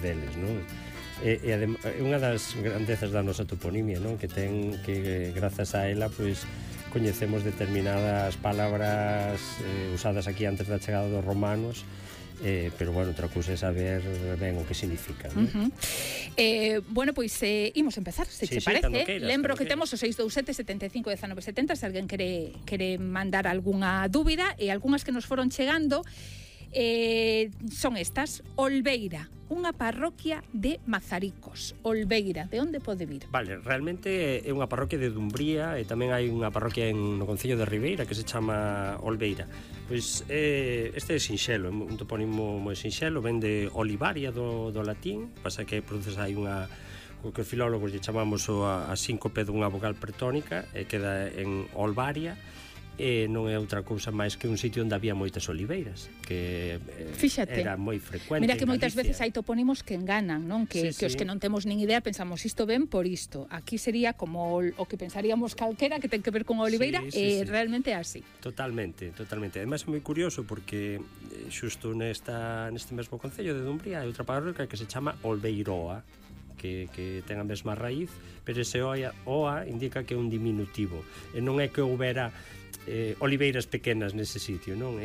deles, non? É unha das grandezas da nosa toponimia, non? Que grazas a ela, pois, coñecemos determinadas palabras usadas aquí antes da chegada dos romanos, pero, bueno, outra cousa é saber ben o que significa, non? Bueno, pois imos empezar, se che parece. Lembro que temos o 627 75 19 70, se alguén quere mandar algunha dúbida, e algunhas que nos foron chegando son estas. Olveira, unha parroquia de Mazaricos. Olveira, de onde pode vir? Vale, realmente é unha parroquia de Dumbría, e tamén hai unha parroquia no concello de Ribeira que se chama Olveira. Pois este é sinxelo, un topónimo moi sinxelo, ven de olivaria do latín, pasa que produces aí o que os filólogos lle chamamos a síncope dunha vogal pretónica, e queda en Olvaria, e non é outra cousa máis que un sitio onde había moitas oliveiras, que era moi frecuente. Mira que moitas veces hai topónimos que enganan, non? Que os que non temos nin idea pensamos isto ben por isto. Aquí sería como o que pensaríamos calquera que ten que ver con a oliveira, e realmente é así. Totalmente. Ademais é moi curioso porque xusto neste mesmo concello de Dumbría hai outra parroquia que se chama Olveiroa, que ten a mesma raíz, pero ese oa indica que é un diminutivo, e non é que houbera oliveiras pequenas nese sitio, non?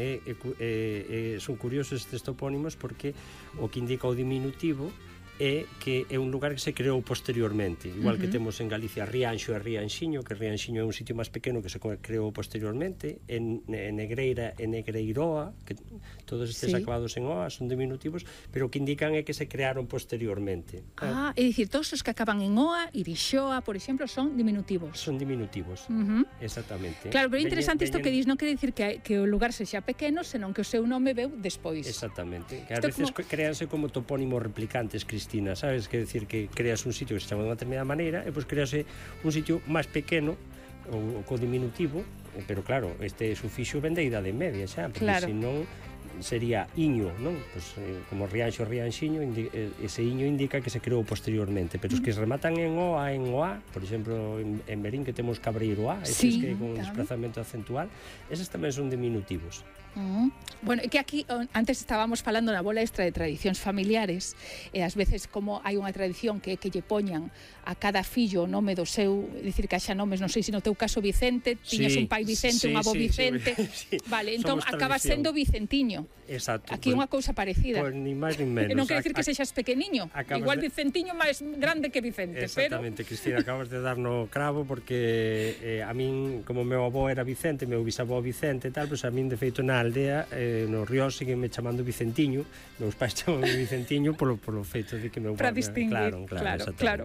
Son curiosos estes topónimos porque o que indica o diminutivo é que é un lugar que se creou posteriormente, igual que temos en Galicia Rianxo e Rianxiño, que Rianxiño é un sitio máis pequeno que se creou posteriormente, en Negreira e Negreiroa, que todos estes acabados en oa son diminutivos, pero o que indican é que se crearon posteriormente. É dicir, todos os que acaban en oa, Irixoa, por exemplo, son diminutivos. Son diminutivos, exactamente. Claro, pero é interesante isto que dis, non quere dicir que o lugar sexa pequeno, senón que o seu nome veu despois. Exactamente, que a veces créanse como topónimos replicantes, Cristina, sabes? Que decir que creas un sitio que se chama de unha determinada maneira e pois crease un sitio máis pequeno ou co diminutivo, pero claro, este sufixo vende a idade media xa, porque senón sería iño, non? Pois, como Rianxo, Rianxiño, ese iño indica que se creou posteriormente, pero os que se rematan en oa, por exemplo, en Berín que temos Cabreiroa, estes que con desplazamento acentual, eses tamén son diminutivos. Bueno, é que aquí antes estábamos falando na bola extra de tradicións familiares, e ás veces como hai unha tradición que lle poñan a cada fillo o nome do seu, dicir que haxa nomes, non sei se no teu caso Vicente, tiñas un pai Vicente, un avó Vicente, vale, entón acaba sendo Vicentiño. Exacto. Aquí unha cousa parecida. Pois ni máis ni menos. Non quer dicir que sexas pequeniño, igual Vicentiño máis grande que Vicente, exactamente, Cristina, acabas de dar no cravo, porque a min, como meu avó era Vicente, meu bisavó Vicente e tal, pois a min de feito na aldea, no río síguenme chamando Vicentiño, meus pais chamanme Vicentiño polo feito de que meu para distinguir, claro.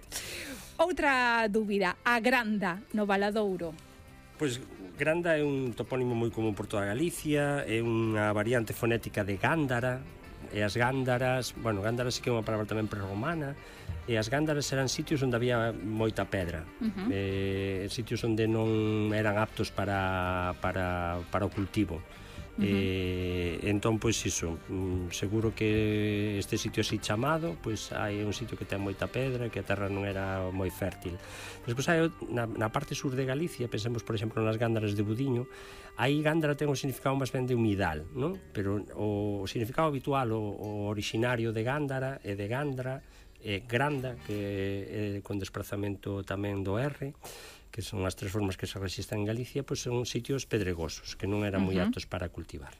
Outra dúbida, a Granda no Valadouro. Pois Granda é un topónimo moi común por toda Galicia, é unha variante fonética de Gándara, e as Gándaras, bueno, Gándara sí que é unha palabra tamén prerromana, e as Gándaras eran sitios onde había moita pedra, sitios onde non eran aptos para o cultivo. Entón, pois iso, seguro que este sitio así chamado, pois hai un sitio que ten moita pedra, que a terra non era moi fértil. Despois hai na parte sur de Galicia, pensemos por exemplo nas Gándaras de Budiño, aí Gándara ten un significado máis ben de humidal, non? Pero o significado habitual, o originario de Gándara e de Gandra, Granda, que é con desplazamento tamén do R, que son as tres formas que se rexistran en Galicia, pois son sitios pedregosos, que non eran moi aptos para cultivar.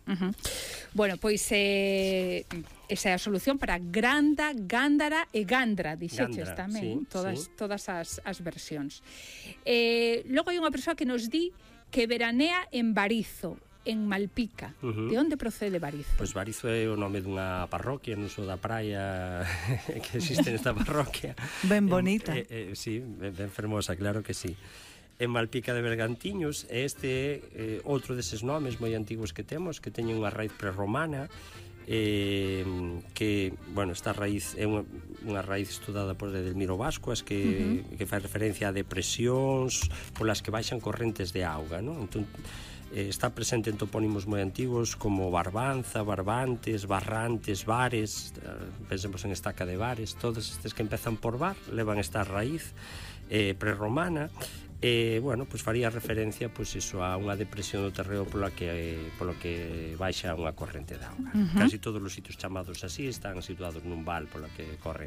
Bueno, pois esa é a solución para Granda, Gándara e Gandra, dixeches tamén, todas as versións. Logo hai unha persoa que nos di que veranea en Barizo, en Malpica. De onde procede Barizo? Pois Barizo é o nome dunha parroquia no uso da praia que existe nesta parroquia. Ben bonita. Sí, ben fermosa, claro que sí. En Malpica de Bergantiños, este é outro deses nomes moi antigos que temos, que teñen unha raíz prerromana, que, bueno, esta raíz é unha raíz estudada por Edelmiro Bascuas, que fai referencia a depresións polas que baixan correntes de auga, non? Entón, está presente en topónimos moi antigos como Barbanza, Barbantes, Barrantes, Bares, pensemos en Estaca de Bares, todos estes que empezan por bar levan esta raíz prerromana. Bueno, pois faría referencia pois iso a unha depresión do terreo polo que baixa unha corrente de auga. Casi todos os sitios chamados así están situados nun val polo que corre